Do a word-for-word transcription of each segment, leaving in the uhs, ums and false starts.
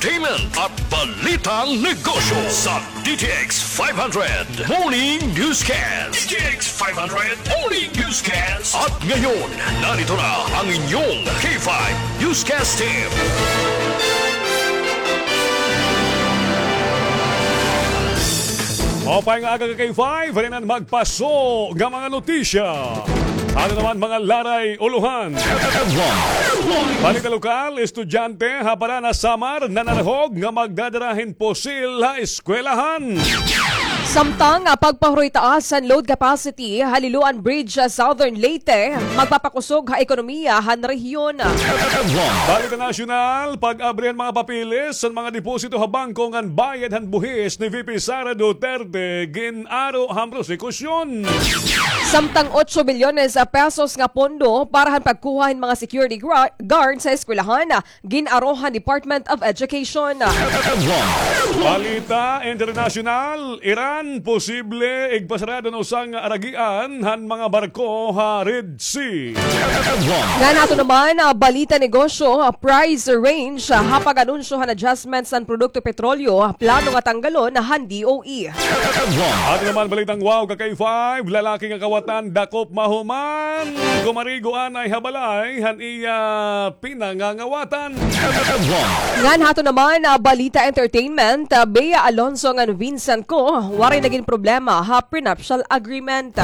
entertainment at balitang negosyo sa D T X five hundred Morning Newscast. D T X five hundred Morning Newscast. At ngayon, narito na ang inyong K five Newscast Team. Maupay nga aga ka K five, hini an magpaso nga mga notisya. Ano naman mga laray ulohan? Balita lokal, estudyante ha Paranas, Samar, nanarhog nga magdadara hin pusil ha eskwelahan. Samtang, ah, pagpahuroy taas han load capacity ha Liloan Bridge sa Southern Leyte, magpapakusog ha ekonomiya han rehiyon. Balita nasyonal, pag-abri han mga papeles han mga deposito ha bangko ngan bayad han buhis ni V P Sara Duterte, gin-aro han prosekusyon. Samtang otso bilyones pesos nga pondo para han pagkuha hin mga security gra-, guard sa eskwelahan, gin-aro han Department of Education. Balita internasyonal, Iran posible igpasarado an usa nga aragian han mga barko ha Red Sea. Ngan ato naman, ah, balita negosyo, ah, price range, ah, ha pag-anunsyo han adjustments han produkto petrolyo, ah, plano nga tanggalon han D O E. Ato naman balitang wow ka K five, lalaki nga kawatan dakop mahuman kumarigo anay ha balay han iya pinangangawatan. Ngan hato naman, ah, balita entertainment, ah, Bea Alonzo ngan Vincent Co, waray nagin problema ha prenuptial agreement.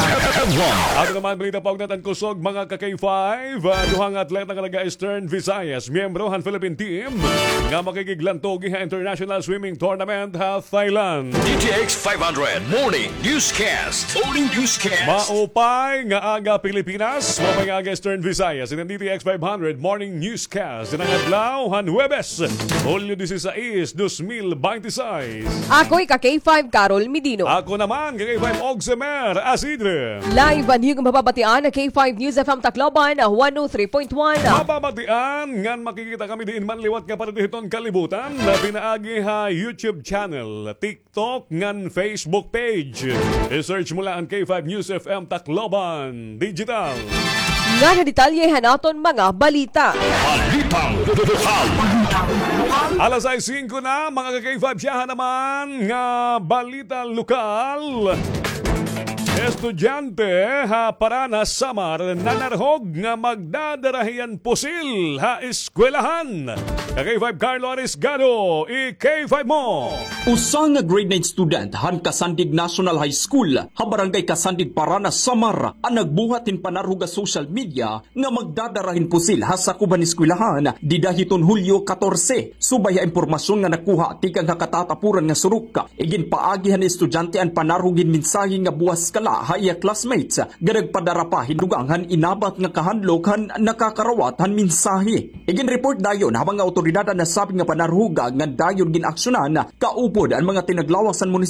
Ato naman balita paugnat han kusog mga ka K five, ah, duha nga atleta nga taga Eastern Visayas, miyembro han Philippine team nga makikiglantogi ha International Swimming Tournament ha Thailand. D T X five hundred Morning Newscast. Morning Newscast. Maupay nga aga Pilipinas, maupay nga aga Eastern Visayas. Ini an D T X five hundred Morning Newscast. Ini an adlaw han Huwebes, Hulyo disisais, dos mil binte y seis. Ako hi ka K five Carol Medino. Ako naman, ka K five Ogsemer Asidre. Live an iyo mababatian ha K five News F M Tacloban, one oh three point one. Mababatian ngan makikita kami diin man liwat nga parte hiton kalibutan, pinaagi ha YouTube channel, TikTok, ngan Facebook page. I-search mo la an K five News F M Tacloban Digital. Ngan ha detalye han aton mga balita. Balitang lokal. Alas sais singko na, mga ka K five, siyahan naman nga balita lokal. Estudyante ha Paranas, Samar, nanarhog nga magdadara hiyan pusil ha eskwelahan. Ka K five Carlo Arisgado, i-K five mo. Usa nga grade nine student han Casandig National High School ha Barangay Casandig, Paranas, Samar, an nagbuhat hin panarhog ha social media nga magdadara hin pusil ha sakob han eskwelahan dida hiton Hulyo katorse. Subay ha impormasyon nga nakuha tikang ha katatapuran nga surok, iginpaagi han estudyante an panarhog hin mensahe nga buwas kala ha iya classmates nga nagpadara pa hin dugang han inabat nga kahandlok han nakakarawat han mensahe. Iginreport dayon ha mga awtoridad an nasabi nga panarhog ngan dayon gin-aksyonan kaupod an mga tinaglawas han munisipyo